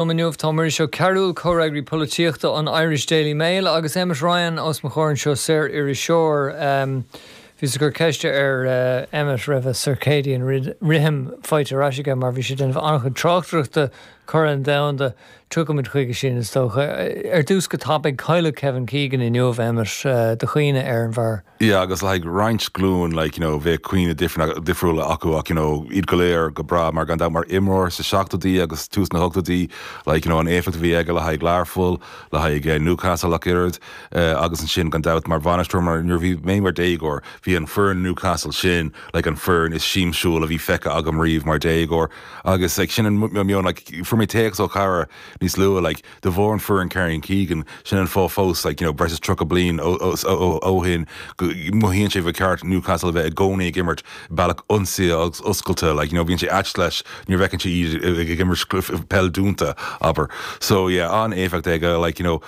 Liom inniu tá Muiris Ó Cearúil, Comhfhreagraí Polaitíochta an Irish Daily Mail agus Emmet Ryan os mo chomhair anseo, saor-iriseoir. Bhíos ag cur ceiste ar Emmet raibh a circadian rhythm faighte ar ais aige mar bhí sé ag déanamh an-chuid tráchtaireachta Corn Domhanda. Tiocfaimid chuige sin is dócha. Ar dtús go tapaidh, cailleadh Kevin Keegan inniu, Emmet, do chuimhne ar an bhfear? Yeah agus le haghaidh roinnt glúin like you know bheadh cuimhne difriúla acu ach you know iad go léir go breá mar gan dabht mar imreoir sa seachtóidí agus tús na hochtóidí like you know an éifeacht a bhí aige le haghaidh Learpholl, le haghaidh Newcastle ach oiread agus ansin gan dabht mar bhainisteoir mar nuair a bhí mé mar déagóir bhí an foireann Newcastle sin like an foireann is siamsúla a bhí feicthe agam riamh mar déagóir agus like sin an meon like fuair mé téacs ó chara níos luaithe like De bharr an foireann Kevin Keegan, sin an fáth fós, like, you know, breis is 30 bliain ó shin, go mothaíonn sé ba cheart Newcastle a bheith i gcónaí ag imirt bealach ionsaí agus oscailte, like, you know, bíonn sé ait leis nuair a fheiceann sé iad ag imirt peil dúnta, abair. So, yeah, an-éifeacht aige, like, you know,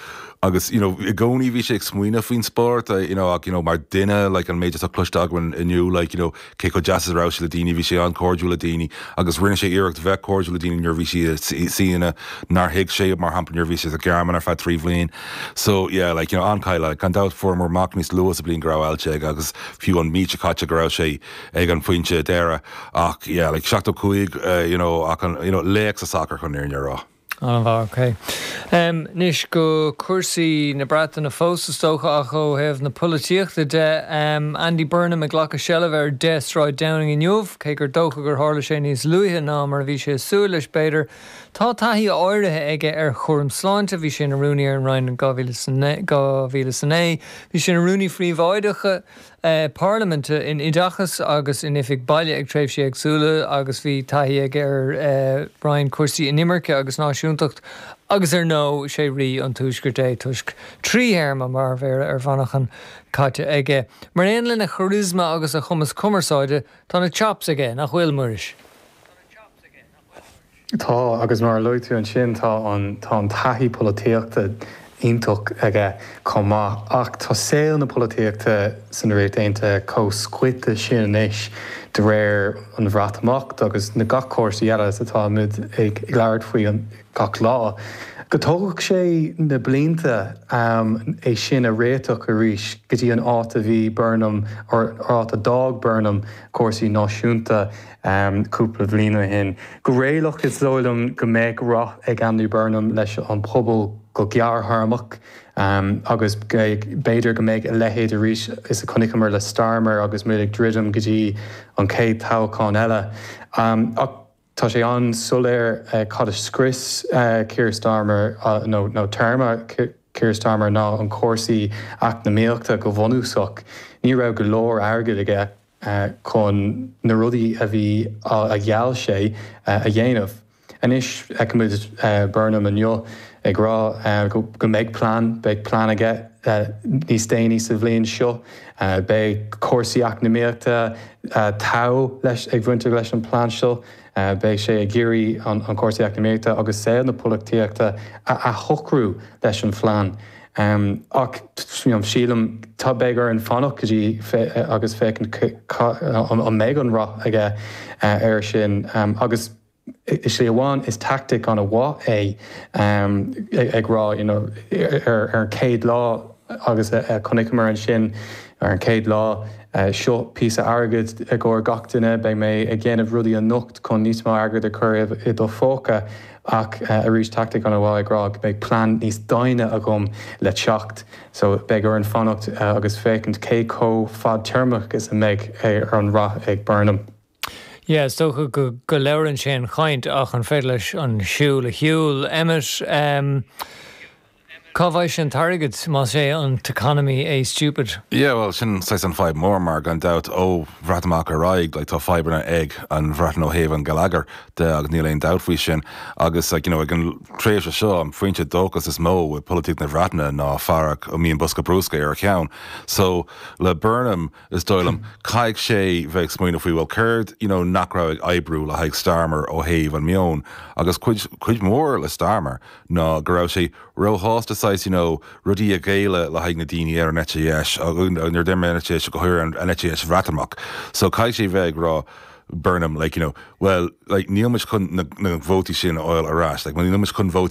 agus, you know, i gcónaí bhí sé ag smaoineamh faoin spórt, you know, ach, you know, mar duine, like, an méid atá cloiste againn inniu, like, you know, cé chomh deas is a raibh sé le daoine, bhí sé an-chairdiúil le daoine agus rinne sé iarracht bheith cairdiúil le daoine nuair a bhí sé i suíomhanna nár thuig sé, mar shampla nuair a bhí sé sa Ghearmáin ar feadh 3 bhliain. So yeah, like, you know, an-chailleadh. Gan dabht fuaireamar amach níos luaithe sa bhliain go raibh ailse aige agus fiú an mhí seo caite go raibh sé ag an phointe deiridh ach yeah, like 75, you know, ach an, you know, laoch sa sacar chun an fhírinne a rá. An-mhaith, ok. Anois go cúrsaí na Breataine fós is dócha ach ó thaobh na polaitíochta de, Andy Burnham ag glacadh seilbh ar 10 Sráid Downing inniu, cé gur dócha gur tharla sé níos luaithe ná mar a bhí sé ag súil leis b'fhéidir. Tá taithí áirithe aige ar chúram sláinte, bhí sé ina rúnaí ar an Roinn in 2009, bhí sé ina rúnaí phríobháideach, Parlaiminte in Oideachas agus in Oifig Baile ag tréimhsí éagsúla agus bhí taithí aige ar Roinn Cúrsaí Inimirce agus Náisiúntacht agus ar ndóigh sé Rí an Tuaiscirt é toisc 3 théarma mar Mhéara ar Mhanchain caite aige. Mar aon lena charisma agus a chumas cumarsáide, tá na chops aige, nach bhfuil, Muiris? Tá, agus mar a luaigh tú ansin, tá an tá an taithí polaitíochta iontach aige chomh maith. Ach tá saol na polaitíochta san Ríocht Aontaithe chomh scoite sin anois de réir an Bhreatimeacht agus na gach cúrsaí eile is atá muid ag labhairt faoi gach lá, go dtógfadh sé na blianta é sin a réiteach arís go dtí an áit a bhí Burnham, or áit a d'fhág Burnham cúrsaí náisiúnta. cúpla bhliain ó shin. Go réalaíoch, is dóigh liom go mbeidh rath ag Andy Burnham leis an pobal go gearrthéarmach agus b'fhéidir go mbeidh a leithéid arís is a chonaiceamar le Starmer agus muid ag druidim go dtí an chéad toghchán eile. Ach tá sé an-soiléir cad a scrios Keir Starmer nó téarma Keir Starmer ná an cúrsaí eacnamaíochta go bunúsach. Ní raibh go leor airgid aige. chun na rudaí a bhí a gheall sé a dhéanamh. Anois feicimid Burnham inniu ag rá go mbeidh plean, beidh plean aige níos déanaí sa bhliain seo. Beidh cúrsaí eacnamaíochta togha leis ag bhaint leis an plean seo. Beidh sé ag iarraidh an cúrsaí eacnamaíochta agus saol na polaitíochta a athshocrú leis an phlean. Ach sílim, tá, beidh orainn fanacht go dtí agus féachaint an mbeidh an rath aige air sin. Agus i slí amháin is tactic an-mhaith é ag rá you know ar an chéad lá agus a chonaiceamar ansin ar an chéad lá seo píosa airgid i gcomhair gach duine, beidh mé ag déanamh rudaí anocht chun níos mó airgid a chur i do phóca. Ach arís tactic an-mhaith ag rá go mbeidh plean níos doimhne agam le teacht so beidh orainn fanacht agus féachaint cé chomh fadtéarmach is a mbeidh ar an rath ag Burnham. Yeah, is dócha go go labhrann sé an chaint ach an féidir leis an siúl a shiúl? Emmet, ehm. Cá bhfaighidh sé an t-airgead más é an t-economy é stupid? Yeah, bhuel, sin saghas an fadhb mór mar gan dabht ó Bhreatimeacht ar aghaidh, like, tá fadhbanna ag an Bhreatain ó thaobh an geilleagair de agus níl aon dabht faoi sin. Agus like, you know, ag an tréimhse seo, an foinse dóchas is mó i polaitíocht na Breataine ná fear a mbíonn bosca bruscair ar a cheann. So, le Burnham, is dóigh liom, caithfidh sé bheith ag smaoineamh faoi, well, céard, you know, nach raibh ag oibriú le haghaidh Starmer ó thaobh an meon agus cuid, cuid mhór le Starmer ná go raibh sé róshásta saghas, you know, rudaí a ghéilleadh le haghaidh na daoine ar an eite dheis, nuair a deir mé an eite dheis, go háirithe an eite dheis Bhreatimeach. So caithfidh sé bheith ag rá. Burnham, like, you know, well, like, níl muid chun na, na vótaí sin a fháil ar ais, like, níl muid chun vótaí.